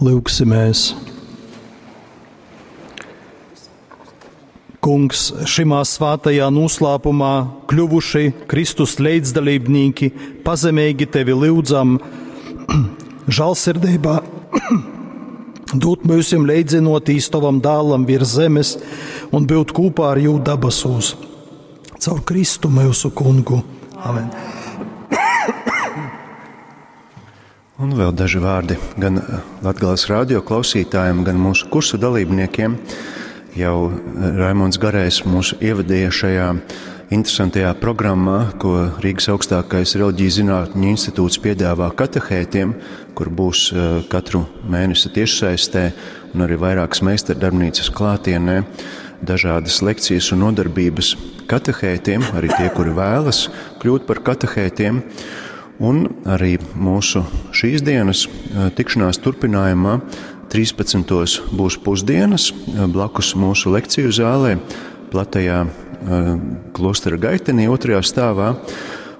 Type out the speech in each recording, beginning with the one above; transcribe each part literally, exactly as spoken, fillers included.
Lūgsimies! Kungs, šimā svātajā noslēpumā kļuvuši Kristus līdzdalībnieki, pazemeigi tevi lūdzam, žālsirdībā dūt mūsim leidzinoties tavam dālam virs zemes un būt kopā ar jū dabasūs. Caur Kristu mūsu kungu. Amen. Un vēl daži vārdi gan Latgales radio klausītājiem, gan mūsu kursa dalībniekiem. Jau Raimonds Garējs mūs ievadīja šajā interesantajā programmā, ko Rīgas augstākais reliģijas zinātņu institūts piedāvā katehētiem, kur būs eh, katru mēnesi tiešsaistē un arī vairākas meistardarbnīcas klātienē, dažādas lekcijas un nodarbības katehētiem, arī tie, kuri vēlas kļūt par katehētiem. Un arī mūsu šīs dienas eh, tikšanās turpinājumā trīspadsmitos būs pusdienas blakus mūsu lekciju zālē, platajā eh, klostera gaitenī, otrajā stāvā.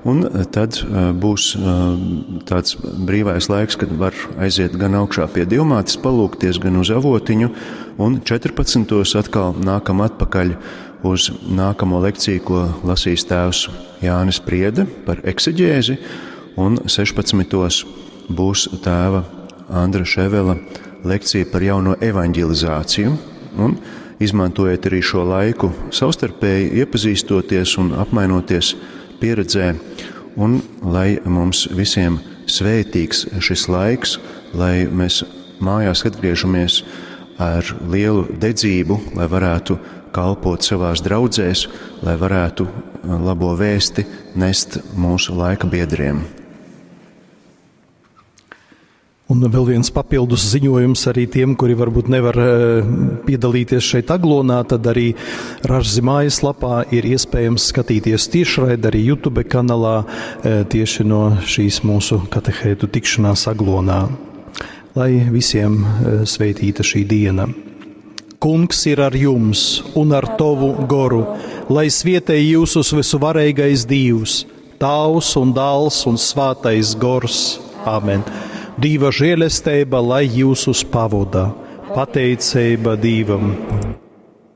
Un tad eh, būs eh, tāds brīvais laiks, kad var aiziet gan augšā pie Dievmātes palūgties, gan uz avotiņu. Un četrpadsmitos atkal nākam atpakaļ uz nākamo lekciju, ko lasīs tēvs Jānis Priede par ekseģēzi. Un sešpadsmitos būs tēva Andra Ševela lekcija par jauno evaņģelizāciju. Un izmantojiet arī šo laiku savstarpēji iepazīstoties un apmainoties pieredzē, un lai mums visiem svētīgs šis laiks, lai mēs mājās atgriežamies ar lielu dedzību, lai varētu kalpot savās draudzēs, lai varētu labo vēsti nest mūsu laika biedriem. Un vēl viens papildus ziņojums arī tiem, kuri varbūt nevar, eh, piedalīties šeit Aglonā, tad arī Ražzi mājaslapā ir iespējams skatīties tiešraidi arī YouTube kanālā, eh, tieši no šīs mūsu katehētu tikšanās Aglonā. Lai visiem, eh, svētīta šī diena. Kungs ir ar jums un ar tavu goru, lai svietē jūsus visuvarīgais Dievs, Tēvs un Dēls un Svētais Gors. Āmen. Dieva žēlestība, lai jūsus pavodā. Pateicība Dievam.